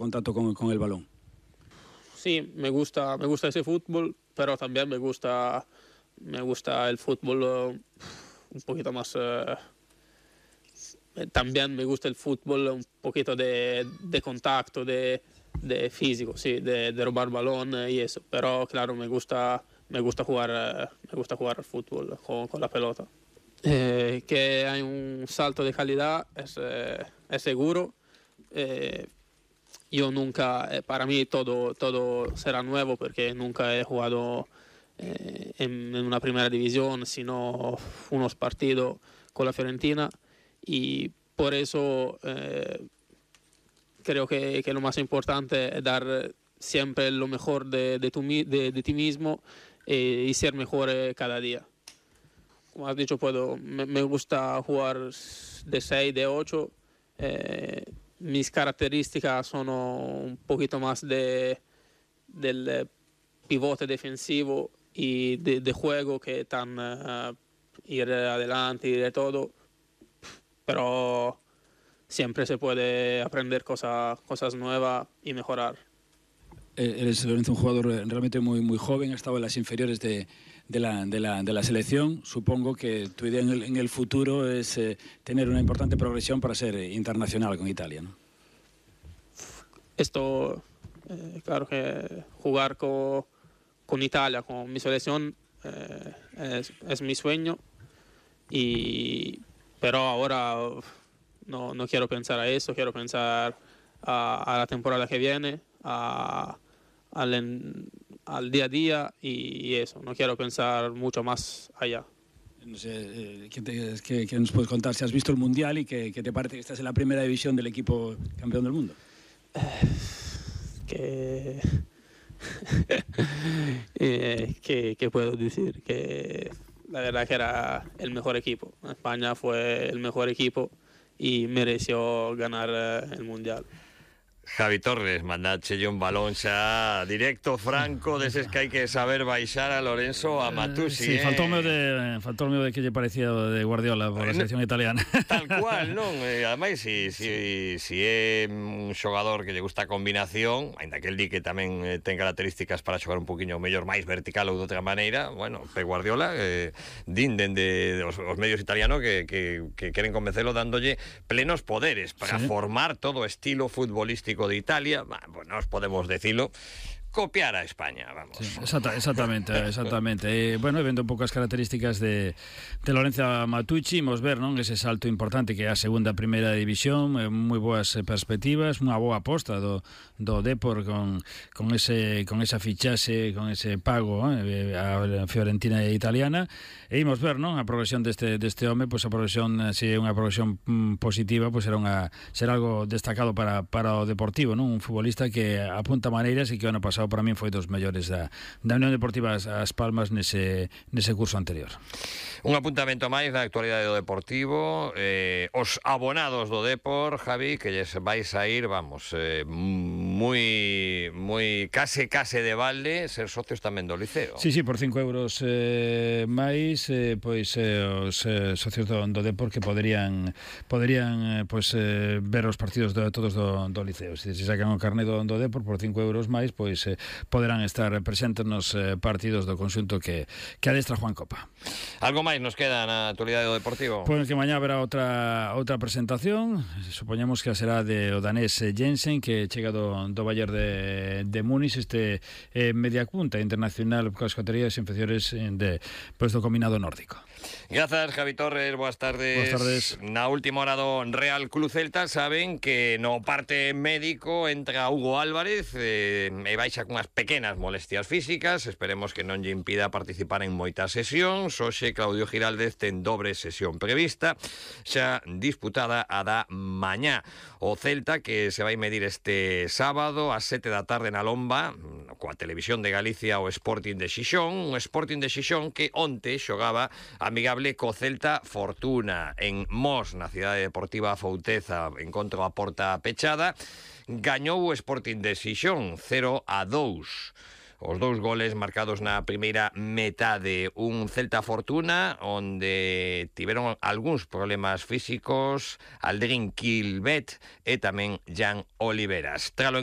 contacto con el balón. Sí, me gusta ese fútbol, pero también me gusta el fútbol un poquito más... también me gusta el fútbol un poquito de contacto, de físico, sí, de robar balón y eso. Pero claro, me gusta jugar al fútbol con la pelota. Que hay un salto de calidad es seguro. Yo nunca, para mí todo será nuevo porque nunca he jugado en una primera división, sino unos partidos con la Fiorentina, y por eso creo que lo más importante es dar siempre lo mejor de ti mismo y ser mejor cada día. Como has dicho, me gusta jugar de 6, de 8. Mis características son un poquito más del pivote defensivo y de juego, que tan ir adelante y de todo, pero siempre se puede aprender cosas nuevas y mejorar. Eres, Lorenzo, un jugador realmente muy, muy joven, ha estado en las inferiores de la selección. Supongo que tu idea en el futuro es tener una importante progresión para ser internacional con Italia, ¿no? Esto, claro que jugar con Italia, con mi selección, es mi sueño, pero ahora no quiero pensar a eso, quiero pensar a la temporada que viene, al día a día y eso. No quiero pensar mucho más allá. No sé, ¿qué nos puedes contar? Si has visto el Mundial y ¿qué te parece que estás en la primera división del equipo campeón del mundo? ¿Qué puedo decir? Que la verdad que era el mejor equipo. España fue el mejor equipo y mereció ganar el Mundial. Javi Torres, mandache un balón xa directo, franco, deses que hai que saber baixar a Lorenzo a Matusi. Sí, faltou o meu de que lle parecía de Guardiola por a selección italiana. Tal cual, non? Ademais, si é un xogador que lle gusta a combinación, ainda que el di que tamén ten características para xogar un poquinho mellor, máis vertical ou de outra maneira, bueno, Pep Guardiola din dende os medios italianos que queren convencelo dándolle plenos poderes para formar todo o estilo futbolístico de Italia, bueno, nos podemos decirlo, copiar a España, vamos. Sí, exactamente. Bueno, vendo un pouco as características de Lorenzo Matucci, imos ver, non, ese salto importante que é a segunda primeira división, moi boas perspectivas, unha boa aposta do Depor con esa fichaxe, con ese pago a Fiorentina italiana, e imos ver, non, a progresión deste home, pois a progresión, se é unha progresión positiva, pois será algo destacado para o Deportivo, non, un futbolista que apunta maneiras e que o ano pasado para min foi dos mellores da Unión Deportiva As Palmas nese curso anterior. Un apuntamento máis da actualidade do Deportivo, os abonados do Depor, Javi, que lles vai sair, vamos, moi case de balde ser socios tamén do Liceo. Sí, por 5 euros máis, pois os socios do Depor que poderían pois ver os partidos todos do Liceo. Se sacan o carné do Depor por 5 euros máis, pois poderán estar presentes nos partidos do conxunto que adestra Juan Copa. Algo máis nos queda na actualidade do Deportivo? Pois que mañá haberá outra presentación, supoñamos que será de o danés Jensen, que chega do Bayern de Múnich, media punta internacional coas categorías inferiores do combinado nórdico. Grazas, Javi Torres, boas tardes. Boas tardes. Na última hora do Real Club Celta saben que no parte médico entra Hugo Álvarez e baixa cunhas pequenas molestias físicas, esperemos que non lle impida participar en moitas sesións. Hoxe Claudio Giraldez ten dobre sesión prevista, xa disputada a da mañá. O Celta que se vai medir este sábado ás 7 da tarde na Lomba, coa Televisión de Galicia, o Sporting de Xixón, un Sporting de Xixón que onte xogaba amigable co Celta Fortuna en Mos, na cidade deportiva Fouteza, encontro a porta pechada. Gañou o Sporting de Xixón 0-2. os 2 goles marcados na primeira metade. Un Celta Fortuna onde tiveron algúns problemas físicos Aldrin Quilvet e tamén Jan Oliveras. Tralo